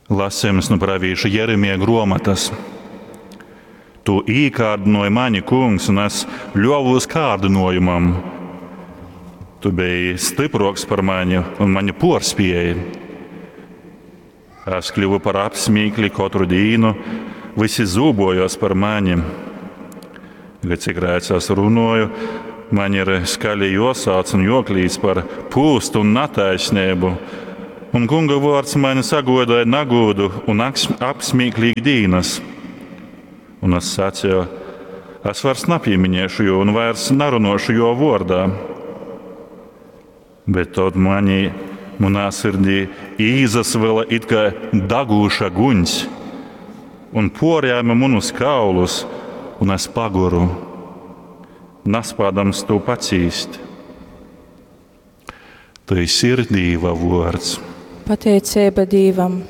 Lasījums nu pravīša Jeremija gruomotas. Tu īkārdināji mani, kungs, un es ļuovos kārdinājumam. Tu biji stiproks par mani un mani porspēji. Es kļuvu par apsmīkli katru dienu, visi zūbojos par mani. Bet cik reiz es runoju, man ir skaļi josāc un joklīdz par pūstu un netaisnību. Un kunga vārds mani sagodoja nagūdu un apsmīklīgi dīnas. Un es sacīju, es vairs nepieminēšu jo un vairs narunošu jo vārdā. Bet tad manī, manā sirdī īzasvila it kā dagūša guņs un porjāma manus kaulus, un es paguru, naspādams to pacīst. Tas ir Dīva vārds. Pateicība Dīvam!